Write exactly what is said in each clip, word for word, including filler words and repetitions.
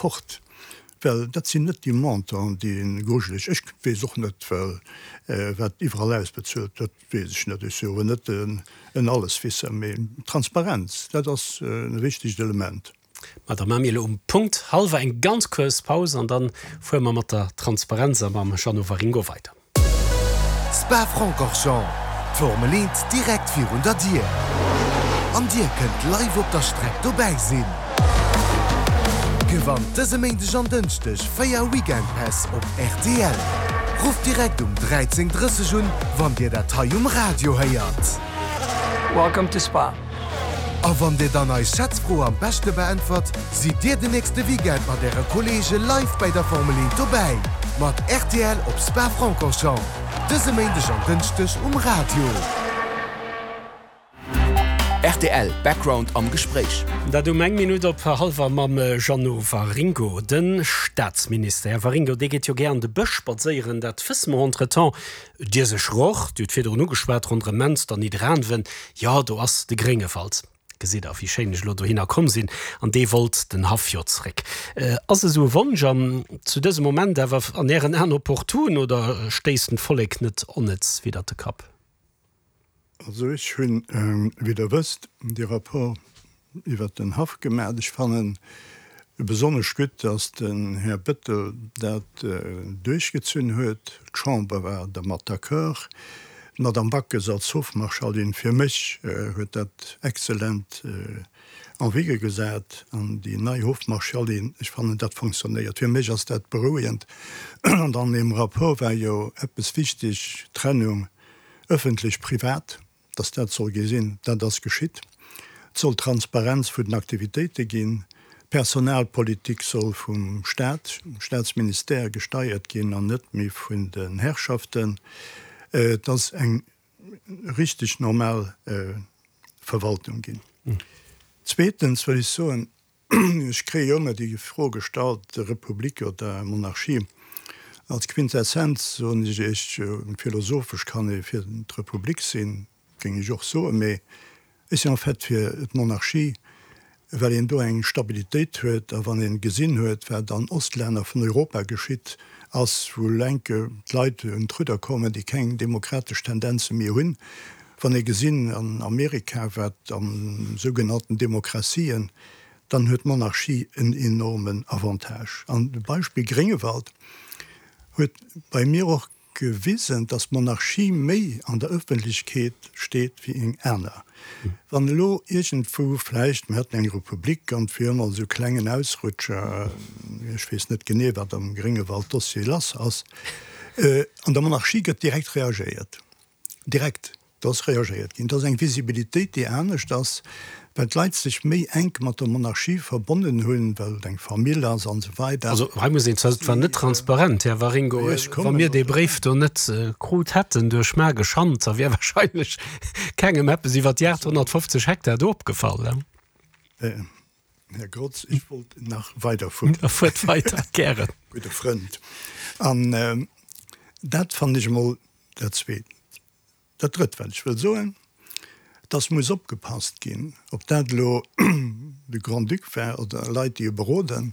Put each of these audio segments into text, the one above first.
Fort, well dat sinn net déi Montanten, déi grujeleg, ech weess och net, well wat iwwerall ausbezuelt, dat weess ech net, ech si jo net en Alleswisser, mee Transparenz, dat ass e wichtegt Element. Ma da maache mir elo um Punkt hallwer eng ganz kuerz Paus an dann fuere mer mat der Transparenz a mam Jeannot Waringo weider. Spa-Francorchamps, D'Formel eent direkt virun der Dier! An dir kënnt live op der Streck dobäi sinn! Gewannt dëse Méindeg an Dënschdeg véier Weekendpäss op rtl! Rufft direkt um dräizéng drësseg un, wann dir dat hei um Radio héiert! Welcome to Spa! A wann dir dann eis Schätzfro am beschte beäntwert, sidd dir den nächste Weekend mat äre Kolleege live bei der Formel eent dobäi! Mat rtl op Spa-Francorchamps, dëse Méindeg an Dënschdeg um Radio. Rtl Background am Gespréich. Dat um eng Minutt op hallwer mam Jeannot Waringo, de Staatsminister. Här Waringo, Dir geet jo gär an de Bësch spadséieren, dat wësse mer. Entretemps, Dir sech roch, Dir hutt virdrun ugeschwat, ronderëm Menster, Nidderaanwen, jo, do ass de Gréngewald. Gesitt Der, wéi schéin ech elo dohinner komm sinn? An dee wollt den Haff jo zréck. Ass esou e Wonsch an zu dësem Moment awer an Ären Aen opportun oder stéisst en d'Vollek net onnëtz widder de Kapp? Also ech hunn, wéi Der wësst, dee Rapport iwwert den Haff gemaach. Ech fannen besonnesch gutt, dass den Här Bettel dat duerchgezunn huet. D'Chamber war dermat d'accord. D'Madame Backes als Hofmarschallin, fir mech huet dat exzellent en vogue gesat. An déi nei Hofmarschallin, ech fannen, dat fonctionnéiert. Fir mech ass dat berouegend. An an deem Rapport war jo eppes wichteg, d'Trennung ëffentlech-privat, dass dat soll gi sinn, dat ass geschitt. Et soll Transparenz vun den Aktivitéite ginn. D'Personalpolitik soll vum Staat, Staatsministère gesteiert ginn an net méi vun den Herrschaften. Et ass eng richteg normal Verwaltung ginn. Zweetens wëll ech soen, ech kréie jo ëmmer déi Fro gestallt, Republik oder Monarchie. Als Quintessenz soen ech Iech, philosophesch kann ee fir d'Republik sinn, géing ech och soen, mee ech sinn en fait fir d'Monarchie, well een do eng Stabilitéit huet. A wann een gesinn huet, wat an Ostlänner vun Europa geschitt ass, wou lenke d'Leit un d'Rudder kommen, déi keng demokratesch Tendenze méi hunn, wann ee gesinn an Amerika, wat a sougenannten Demokratien, dann huet d'Monarchie en enormen Avantage. An de Beispill Gréngewald huet bei mir och gewisen, dass d'Monarchie méi an der Ëffentlechkeet steet wéi eng aner. Wann elo iergendwou vläicht, mir hätten eng Republik an et wier ëmmer esou klengen Ausrutscher, ech weess net genee, wat am Gréngewald-Dossier lass ass, an der Monarchie gëtt direkt reagéiert. Direkt. Do ass reagéiert ginn. Do ass eng Visibilitéit, déi anescht ass, well d'Leit sech méi enk mat der Monarchie verbonnen hunn, well et eng Famill ass an esou weider. Also hei muss een, et war net transparent, Här Waringo. Wa mir dee Bréif do net krut hätten duerch magesch Hand, da wier wahrscheinlech kengem eppes iwwer déi achthonnertfofzeg Hektar do opgefall. Här Grotz, ech wollt nach weiderfueren. Da fuert weider, gären. Gudde Frënd. An dat fannen ech emol dat Zweet. Dat Drëtt, wat ech wëll soen, dass muss opgepasst ginn, ob dat elo de Grand-Duc war oder Leit, déi e beroden,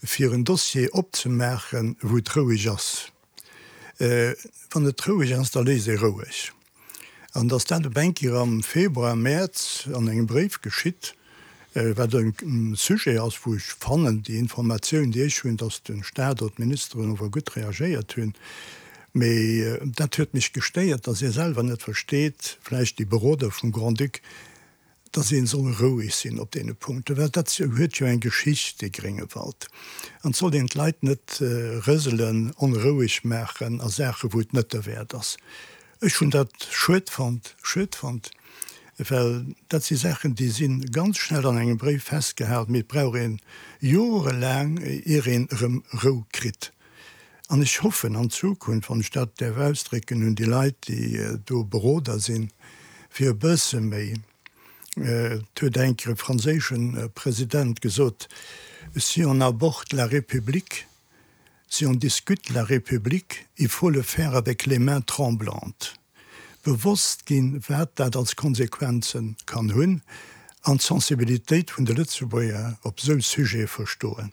fir en Dossier opzemaachen, wou et roueg ass. Wann et roueg ass, da léisst ee roueg. An dass dat op eng Kéier am Februar, Mäerz an engem Bréif geschitt, wat e Sujet ass, wou ech fannen, déi Informatioun, déi ech hunn, dass de Stat oder d'Ministeren ower gutt reagéiert hunn, mee dat huet mech gestéiert, dass ee selwer net versteet, vläicht déi Beroder vum Grand-Duc, dass ee soll roueg sinn op deene Punkten, well dat huet jo eng Geschicht, dee Gréngewald. An et sollt een d'Leit net rëselen, onroueg maachen a Saachen, wou et net derwäert ass. Ech hunn dat schued fonnt, schued fonnt, well dat si Saachen, déi si ganz schnell an engem Bréif festgehalen, mee et brauch ee jorelaang, ier een erëm Rou kritt. An ech hoffen an Zukunft, wann ech dat däerf ausdrécken, un déi Leit, déi do Beroder sinn, fir e bësse méi, et huet eng Kéier e franséische President gesot, Si on aborde la République, si on discute la République, il faut le faire avec les mains tremblantes. Bewosst ginn, wat dat als Konsequenze kann hunn, an d'Sensibilitéit vun de Lëtzebuerger op esou Sujete verstoen.